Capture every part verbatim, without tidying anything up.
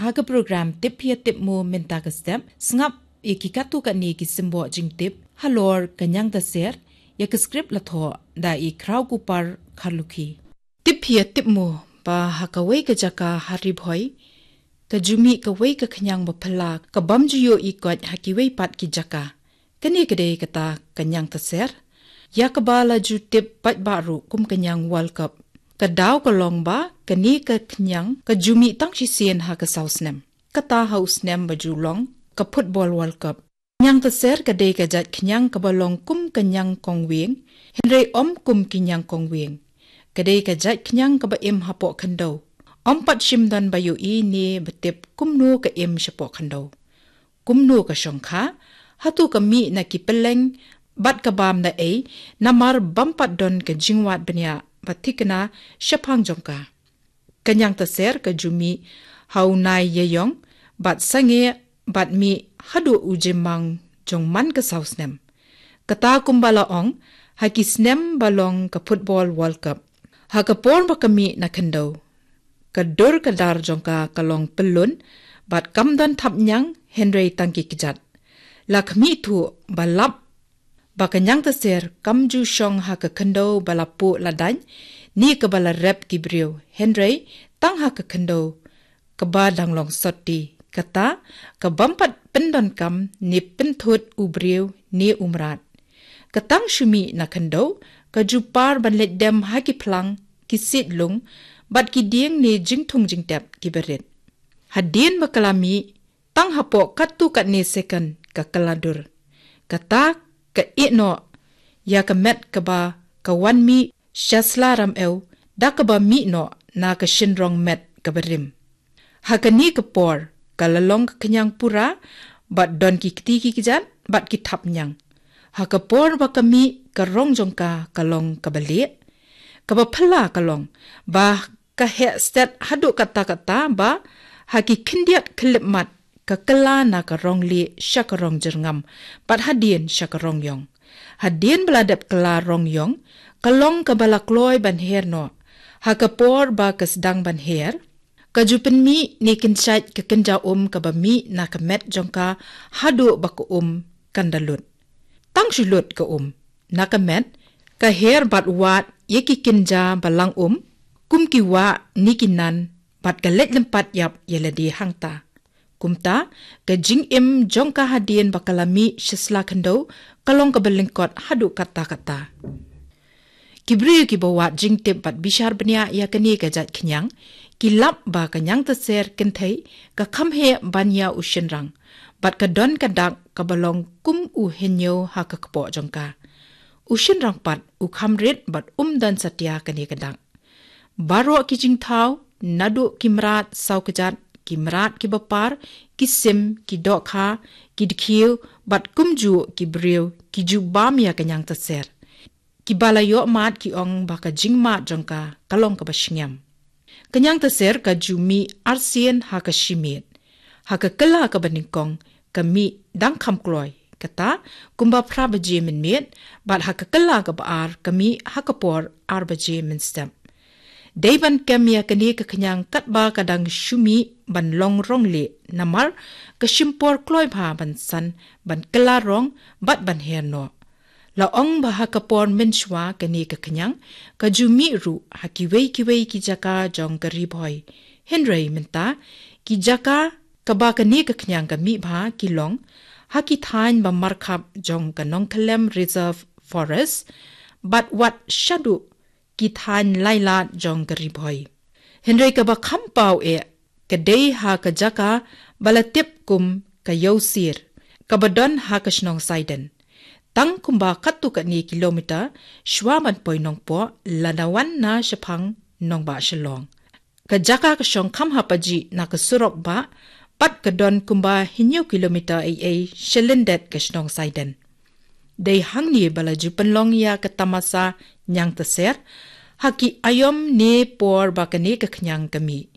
Ha ka program Tip Phi Tip Mo mynta ka step, sngap ïa ki katto katne ki symboh jingtip halor ka Ñiangtaser, ïa ka script la thoh da i Khrawkupar Kharlukhi. Tip Phi Tip Mo ba ha kawei ka jaka ha Ri Bhoi, ka ju mih kawei ka khñiang ba phylla, ka bym ju ïohi koit ha kiwei pat ki jaka. Kane ka dei kata ka Ñiangtaser, ïa kaba la ju tip paidbah ruh kum ka Ñiang World Cup. Ka daw ka long ba kane ka khñiang ka ju mih tang shisien ha ka saw snem, kata ha u snem ba ju long ka Football World Cup. Ñiangtaser ka dei ka jait khñiang kaba long kum ka ñiang kongwieng, hynrei ym kum ki ñiang kongwieng. Ka dei ka jait khñiang kaba im hapoh khyndew. Ym pat shym don ba ïohi ne ba tip kumno ka im shapoh khyndew. Kumno ka shongkha, hato ka mih na ki pylleng bad ka bam da ei, namar bym pat don ka jingwad bniah ba thikna shaphang jong ka. Ka Ñiangtaser ka ju mih ha u nai ïaiong bad sangeh bad mih haduh u jymmang jong man ka saw snem. Kata kumba la ong, ha ki snem ba long ka Football World Cup. Ha ka por ba ka mih na khyndew, ka dur ka dar jong ka ka long pyllun, bad kam don thapñiang hynrei tang ki kjat. La khmih thuh ba lap ba ka Ñiangtaser kam ju shong ha ka khyndew ba la puh la daiñ, ne kaba la rep ki briew, hynrei tang ha ka khyndew kaba dang long sotti, kata ka bym pat pyndonkam ne pynthut u briew ne u mrad. Ka tang shu mih na khyndew, ka ju par ban leit dem ha ki phlang, ki siej lung, bad ki dieng ne jingthung jingtep kiba rit. Hadien ba ka la mih, tang hapoh katto katne second ka kylla dur. Kata ka ïeh noh ïa ka met kaba ka wan mih sha sla ram ew, da kaba mih noh na ka shynrong met kaba rim. Ha kane ka por, ka la long ka khñiang pura, bad don ki kti ki kjat bad ki thapñiang. Ha ka por ba ka mih, ka rong jong ka ka long kaba lieh, kaba phylla ka long, ba ka heh stet haduh katta katta ba ha ki khyndiat khyllipmat ka kylla na ka rong lieh sha ka rong jyrngam, bad hadien sha ka rong ïong. Hadien ba la dep kylla rong ïong, ka long kaba la kloi ban her noh. Ha ka por ba ka sdang ban her, ka ju pynmih ne kynshait ka kynja um kaba mih na ka met jong ka haduh ba ka um kan da lut. Tang shu lut ka um na ka met, ka her bad wad ïa ki kynja ba lang um, kum ki wah ne ki nan, bad ka leit lympat ïap ïa lade hangta. Kumta, ka jingim jong ka hadien ba ka la mih sha sla khyndew, ka long kaba lyngkot haduh katta katta. Ki briew kiba wad jingtip bad bishar bniah ïa kane ka jait khñiang, ki lap ba ka Ñiangtaser kynthei ka kham heh ban ïa u shynrang, bad ka don ka dak kaba long kum u hynñiew ha ka kpoh jong ka. U shynrang pat u kham rit bad um don satia kane ka dak. Baroh ki jingthaw, naduh ki mrad saw kjat, ki mrad kiba par, ki sim, ki dohkha, ki dkhiew, bad kumjuh ki briew, ki ju bam ïa ka Ñiangtaser. Kiba la ïoh mad ki ong ba ka jingmad jong ka ka long kaba shngiam. Ka Ñiangtaser ka ju mih arsien ha ka shi miet. Ha ka kylla kaba nyngkong, ka mih dang kham kloi, kata kumba phra baje mynmiet, bad ha ka kylla kaba ar ka mih ha ka por ar baje mynstep. Dei ban kem ïa kane ka khñiang katba ka dang shu mih ban long rong lieh, namar ka shim por kloi bha ban san, ban kylla rong, bad ban her noh. La ong ba ha ka por mynshuwa kane ka khñiang ka ju mih ruh ha kiwei kiwei ki jaka jong ka Ri Bhoi. Hynrei mynta, ki jaka kaba kane ka khñiang ka mih bha ki long ha ki thaiñ ba markhap jong ka Nongkhyllem Reserve Forest, bad wat shaduh ki thaiñ Lailad jong ka Ri Bhoi. Hynrei kaba kham paw eh, ka dei ha ka jaka ba la tip kum ka Ïewsier, kaba don ha ka shnong Saiden. Tang kumba katto katne kilometer shuwa ban poi Nongpoh, lada wan na shaphang Nongbah Shillong. Ka jaka ka shong kham hapajih na ka surok bah, bad ka don kumba hynñiew kilometer ei ei sha lyndet ka shnong Saiden. Dei hangne ba la ju pynlong ïa ka tamasa Ñiangtaser ha ki aïom ne por ba kane ka khñiang ka mih.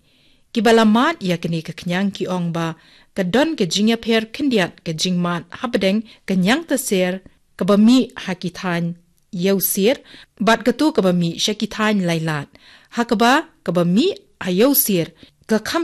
Kiba la mad ïa kane ka khñiang ki ong ba ka don ka jingïapher khyndiat ka jingmad hapdeng ka Ñiangtaser kaba mih ha ki thaiñ Ïewsier, bad kato kaba mih sha ki thaiñ Lailad. Ha kaba, kaba mih ha Ïewsier ka kham